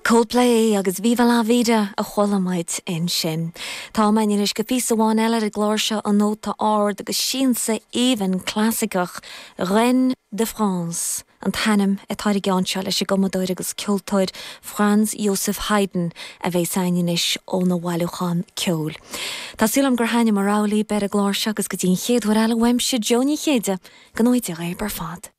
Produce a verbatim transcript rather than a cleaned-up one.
Coldplay agus Viva la Vida a chuala muid ansin. Tá anois go píosa amháin eile ar an gclár seo an nóta ard agus siansa aoibhinn clasaiceach Reine de France. An t-ainm atá ar an gceann seo leis an gcumadóir agus ceoltóir Franz Joseph Haydn a bheas againn anois óna bhailiúchán ceoil. Tá súil agam gur thaitin mo rogha libh ar an gclár seo agus go dtí an chéad uair eile uaimse Joe Ní Chéide go n-éirí ar fad.